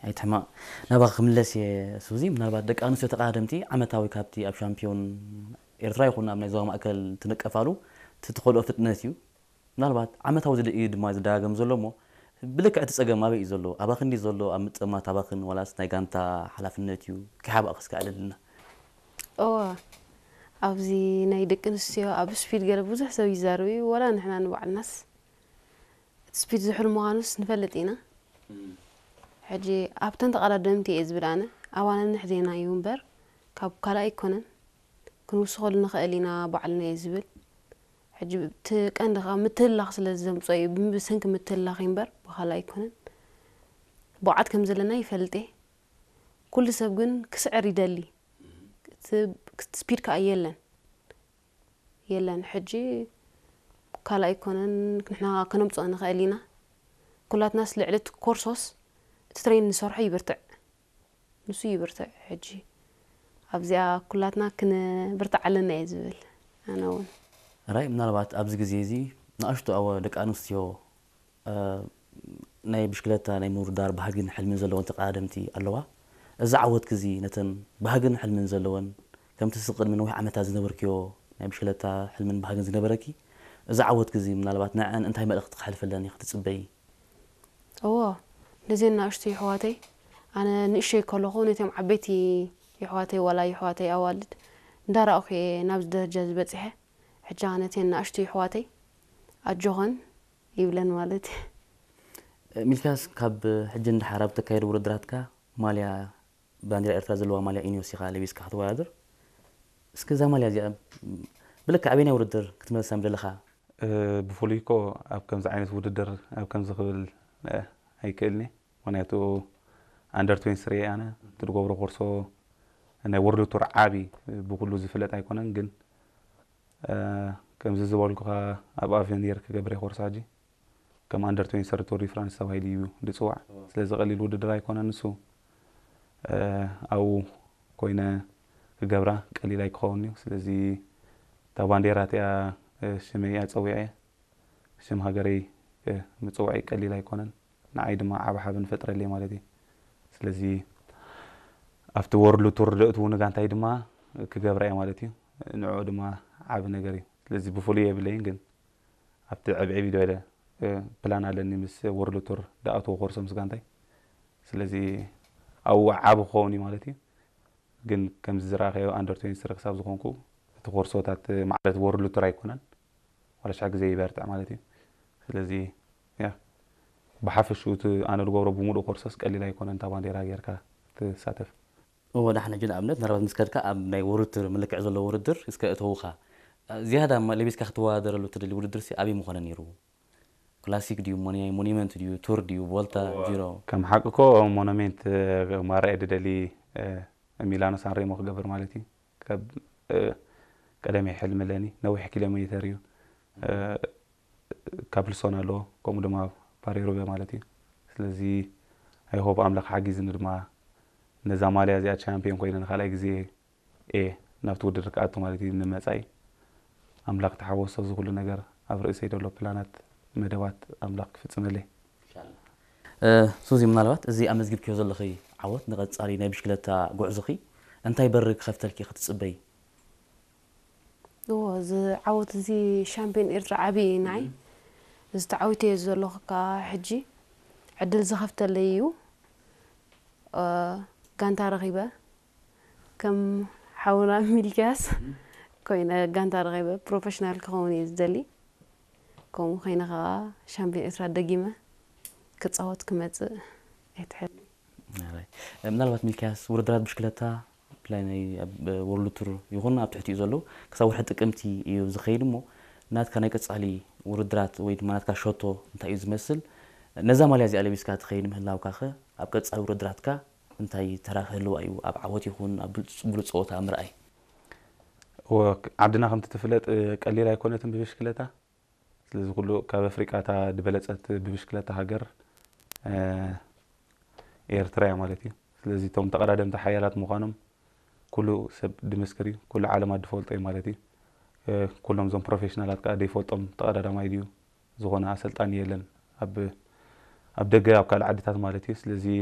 ኣይትሕማቕ። ናባኻ ክምለስ እየ ሱዚ። ምናልባት ደቂ ኣንስትዮ ተቐዳደምቲ ዓመታዊ ካብቲ ኣብ ሻምፒዮን ኤርትራ ይኹን ኣብ ናይ ዞባ ማእከል ትንቀፋሉ እቲ ትኸድኦ ፍጥነት እዩ። ምናልባት ዓመታዊ ዝደ- እዩ ድማ ዝደጋገም ዘሎ እሞ ብልክዕ እቲ ጸገም ኣበይ እዩ ዘሎ? ኣባኽን ድዩ ዘሎ ኣብ ምጥማት ኣባኽን ዋላስ ናይ ጋንታ ሓላፍነት እዩ? ከይሓባእኺ እስከ ኣዕልልና። እወ፣ ኣብዚ ናይ ደቂ ኣንስትዮ ኣብ ስፒድ ገለ ብዙሕ ሰብ ይዛረብ እዩ። ዋላ ንሕና ንባዕልናስ እቲ ስፒድ ዝሑል ምዃኑስ ንፈልጥ ኢና። ሕጂ ኣብተን ተቐዳደምቲ እየ ዝብል ኣነ። ኣባና ንሕዜና እዩ እምበር ካብ ካልእ ኣይኮነን። ክንውስኸሉ ንኽእል ኢና ባዕልና እየ ዝብል። ሕጂ እቲ ቀንዲ ከዓ ምትህልላኽ ስለ ዘምፅኦ እዩ። ብሰንኪ ምትህልላኽ እዩ እምበር ብኻልእ ኣይኮነን። ብቕዓት ከም ዘለና ይፈልጥ እየ። ኩሉ ሰብ ግን ክስዕር ይደሊ። እቲ ስፒድ ከዓ የለን። የለን። ሕጂ ካልእ ኣይኮነን ንሕና ከነምፅኦ ንኽእል ኢና። ኩላትናስ ልዕሊ እቲ ኮርሶስ እቲ ትሬን ንሰርሖ ይብርትዕ። ንሱ ይብርትዕ። ሕጂ ኣብዚኣ ኩላትና ክንብርትዕ ኣለና እየ ዝብል ኣነ እውን። ራይ ምናልባት ኣብዚ ግዜ እዚ ንኣሽቱ ኣወ ደቂ ኣንስትዮ እ፣ ናይ ብሽክለታ ናይ ምውድዳር ባህግን ሕልምን ዘለወን ተቐዳደምቲ ኣለዋ። እዚ ዓወትኪ እዚ ነተን ባህግን ሕልምን ዘለወን ከምቲ ስቕ ቅድሚ ነዊሕ ዓመታት ዝነበርክዮ ናይ ብሽክለታ ሕልምን ባህግን ዝነበረኪ እዚ ዓወትኪ እዚ ምናልባት ንዐን እንታይ መልእኽቲ ክሕልፈለን ኢኺ ትጽበዪ? እዎ፣ ነዘን ንኣሽቱ የሕዋተይ ኣነ ንእሽተይ ከለኹ ነቶም ዓበይቲ የሕዋተይ ዋላ የሕዋተይ ኣዋልድ እንዳረኣኹ እየ ናብዚ ደረጃ ዝበፅሐ። ሕጂ ከዓ ነተን ንኣሽቱ የሕዋተይ ኣጆኸን ይብለን ማለት እዩ። ሚልክያስ ካብ ሕጂ ንደሓር ኣብ ተካየዱ ውድድራትካ ማልያ ባንዲራ ኤርትራ ዘለዋ ማልያ ኢኒዮስ ኢኻ ለቢስካ ክትወዳደር። እስኪ እዛ ማልያ እዚኣ ብልክዕ ኣበየናይ ውድድር ክትመልሳ ምደለኻ? ብፍሉይ እኮ ኣብ ከምዚ ዓይነት ውድድር ኣብ ከምዚ ክብል ኣይክእልኒ። ምክንያቱ ኣንደር ትዌንቲ ስሪ ኣነ እቲ ዝገብሮ ኮርሶ ናይ ወርልድ ቱር ዓቢ ብኩሉ ዝፍለጥ ኣይኮነን፣ ግን ከምዚ ዝበልኩኻ ኣብ ኣቨኒር ክገብር እየ ኮርስ ሕጂ። ከም ኣንደር ትዌንቲ ስሪ ቱር ዲ ፍራንስ ተባሂሉ እዩ ዝፅዋዕ። ስለዚ ቀሊል ውድድር ኣይኮነን ንሱ። ኣብኡ ኮይነ ክገብራ ቀሊል ኣይክኸውን እዩ። ስለዚ እታ ባንዴራ እቲኣ ሽመይ እያ ፀዊዐ። ሽም ሃገረይ ምፅዋዕይ ቀሊል ኣይኮነን። ንዓይ ድማ ዓብ ሓበን ፈጥረለይ ማለት እዩ። ስለዚ ኣብቲ ወርልድ ቱር ደእትውኒ ጋንታይ ድማ ክገብራ እየ ማለት እዩ። ንዕኡ ድማ ዓብ ነገር እዩ። ስለዚ ብፍሉይ የብለይን፣ ግን ኣብቲ ዕብዒብ ኢለ ፕላን ኣለኒ ምስ ወርልድ ቱር ደኣትዎ ኮርሶ ምስ ጋንታይ። ስለዚ ኣብኡ ዓብ ክኸውን እዩ ማለት እዩ። ግን ከምዚ ዝረኣኸዮ ኣንደር ትዌንቲ ስሪ ክሳብ ዝኾንኩ እቲ ኮርሶታት ማለት ወርልድ ቱር ኣይኮነን። ዋላ ሽሕ ግዜ ይበርትዕ ማለት እዩ። ስለዚ ያ ብሓፈሽኡ እቲ ኣነ ዝገብሮ ብምሉእ ኮርሶስ ቀሊል ኣይኮነን እታ ባንዴራ ጌርካ ትሳተፍ። እወ፣ ዳሕና ሕጂ ንኣብነት ምናልባት ምስ ከድካ ኣብ ናይ ውድድር ምልክዕ ዘለዎ ውድድር እስከ እተውኻ ዝያዳ ማ- ለቢስካ ክትወዳደረሉ ትደሊ ውድድር ሲ ኣበይ ምኾነ ነይሩ? ክላሲክ ድዩ፣ ሞኒ- ሞኒመንት ድዩ፣ ቱር ድዩ፣ ቮልታ፣ ጂሮ? ከም ሓቂ እኮ ሞኖሜንት ማራየ ድደሊ ሚላኖ ሳንሬሞ ክገብር ማለት እዩ። ካብ ቀደመይ ሕልሚ ኣለኒ። ነዊሕ ኪሎ ሜተር እዩ። ካፕልሶን ኣለዎ፣ ከምኡ ድማ ፓሪሩበ ማለት እዩ። ስለዚ ኣይሆፕ ኣምላኽ ሓጊዝኒ ድማ ነዛ ማልያ እዚኣ ቻምፒዮን ኮይነ ንካልኣይ ግዜ እየ ናብቲ ውድድር ክኣቱ ማለት እዩ። ንመፃኢ ኣምላኽ ተሓወሶ፣ እዚ ኩሉ ነገር ኣብ ርእሰይ ዘሎ ፕላናት መደባት ኣምላኽ ክፍፅመለይ። ሱዚ፣ ምናልባት እዚ ኣመዝጊብክዮ ዘለኺ ዓወት ንቐፃሊ ናይ ብሽክለታ ጉዕዞኺ እንታይ በሪ ክኸፍተልኪ ኢኺ ትፅበዪ? እዎ፣ እዚ ዓወት እዚ ሻምፒዮን ኤርትራ ዓብዪ እዩ ንዓይ። እዚ ተዓዊተዮ ዘለኹ ከዓ ሕጂ ዕድል ዝኸፍተለይ እዩ። ጋንታ ረኺበ ከም ሓውና ሚልክያስ ኮይነ ጋንታ ረኺበ ፕሮፌሽናል ክኸውን እየ ዝደሊ። ከምኡ ኮይነ ከዓ ሻምፒዮን ኤርትራ ደጊመ ክፃወት ክመፅእ እየ ትሕል። ምናልባት ሚልክያስ ውድድራት ብሽክለታ ብፍላይ ናይ ኣብ ወርልድ ቱር ይኹን ኣብ ትሕቲኡ ዘለዉ ክሳብ ወርሒ ጥቅምቲ እዩ ዝኸይድ እሞ ናትካ ናይ ቀፃሊ ውድድራት ወይ ድማ ናትካ ሸቶ እንታይ እዩ ዝመስል? ነዛ ማልያ እዚኣ ለቢስካ ትኸይድ ምህላውካ ኸ ኣብ ቀፃሊ ውድድራትካ እንታይ ተራ ክህልዋ እዩ ኣብ ዓወት ይኹን ኣብ ብሉፅ ፀወታ ምርኣይ? ዓድና ከምቲ ትፍለጥ ቀሊል ኣይኮነትን ብብሽክለታ። ስለዚ ኩሉ ካብ ኣፍሪቃ እታ ዝበለፀት ብብሽክለታ ሃገር ኤርትራ እያ ማለት እዩ። ስለዚ እቶም ተቐዳደምቲ ሓያላት ምዃኖም ኩሉ ሰብ ድምስክር እዩ። ኩሉ ዓለም ኣድፈልጦ እዩ ማለት እዩ። ኩሎም እዞም ፕሮፌሽናላት ከዓ ደይፈልጦም ተቐዳዳማይ ድዩ ዝኾነ ኣሰልጣኒ የለን ኣብ ኣብ ደገ ኣብ ካልእ ዓድታት ማለት እዩ። ስለዚ